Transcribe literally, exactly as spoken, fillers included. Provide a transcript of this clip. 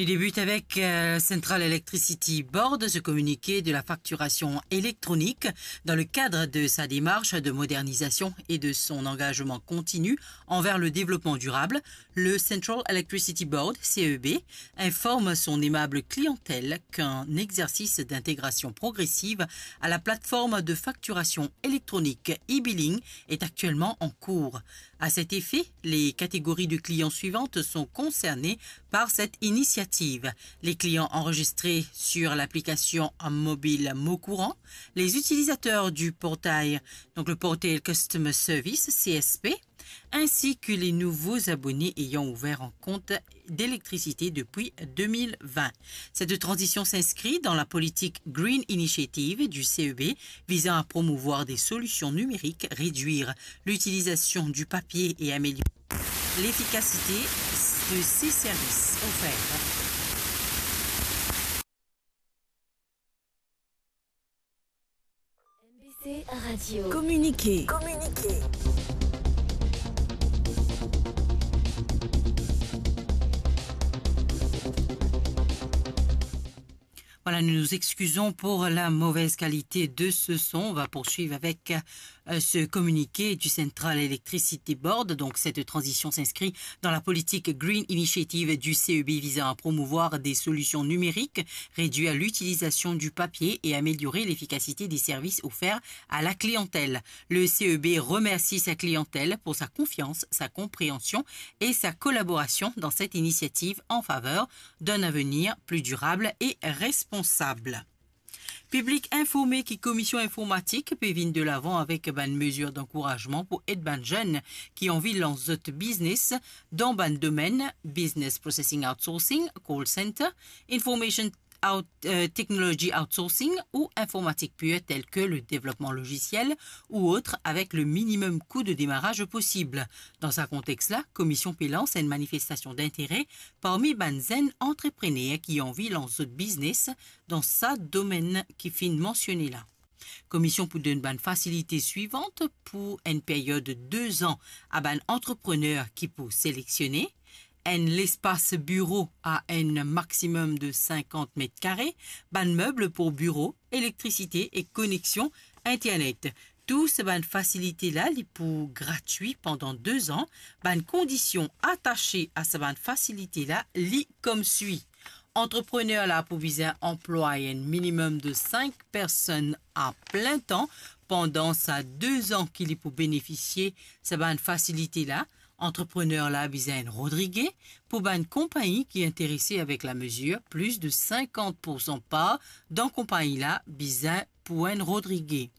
Il débute avec euh, Central Electricity Board, ce communiqué de la facturation électronique dans le cadre de sa démarche de modernisation et de son engagement continu envers le développement durable. Le Central Electricity Board, C E B, informe son aimable clientèle qu'un exercice d'intégration progressive à la plateforme de facturation électronique e-billing est actuellement en cours. À cet effet, les catégories de clients suivantes sont concernées par cette initiative. Les clients enregistrés sur l'application mobile Mon Courant, les utilisateurs du portail, donc le portail Customer Service, C S P, ainsi que les nouveaux abonnés ayant ouvert un compte d'électricité depuis deux mille vingt. Cette transition s'inscrit dans la politique Green Initiative du C E B visant à promouvoir des solutions numériques, réduire l'utilisation du papier et améliorer l'efficacité de ses services offerts. M B C Radio. Communiqué. Communiqué. Voilà, nous nous excusons pour la mauvaise qualité de ce son. On va poursuivre avec euh, ce communiqué du Central Electricity Board. Donc, cette transition s'inscrit dans la politique Green Initiative du C E B visant à promouvoir des solutions numériques, réduire l'utilisation du papier et améliorer l'efficacité des services offerts à la clientèle. Le C E B remercie sa clientèle pour sa confiance, sa compréhension et sa collaboration dans cette initiative en faveur d'un avenir plus durable et responsable. Piblik informe ki Komision Informatik pe vinn de lavan avek bann mezir dankourazman pou ed bann zenn ki anvi lans zot biznes dan bann domenn business processing outsourcing, call center, information out, euh, technology outsourcing ou informatik pur tel ke le devlopman lozisiel ou ot avek le minimum kou de demaraz posib. Dan sa kontex la, Komision pe lans enn manifestasion dintere parmi bann zenn antreprener ki anvi lans zot biznes dan sa domenn ki finn mansione la. Komision pou donn bann fasilite swivan pou enn period de de zan a bann antreprener ki pou seleksionnen, enn lespas biro a enn maximum de sinkant met kare, bann meb pou biro, elektrisite e koneksion internet. Tou sa bann fasilite la, li pou gratwi pandan de zan. Bann kondision atase a sa bann fasilite la, li koumsa. Antreprener la pou bizin anplway enn minimum de sink personn a plen tan pandan sa de zan ki li pou benefisie sa bann fasilite la. Antreprener la bizin enn Rodrige. Pou bann konpagni ki interese avek lamezir, plis de sinkant poursan par dan konpagni la bizin pou enn Rodrige.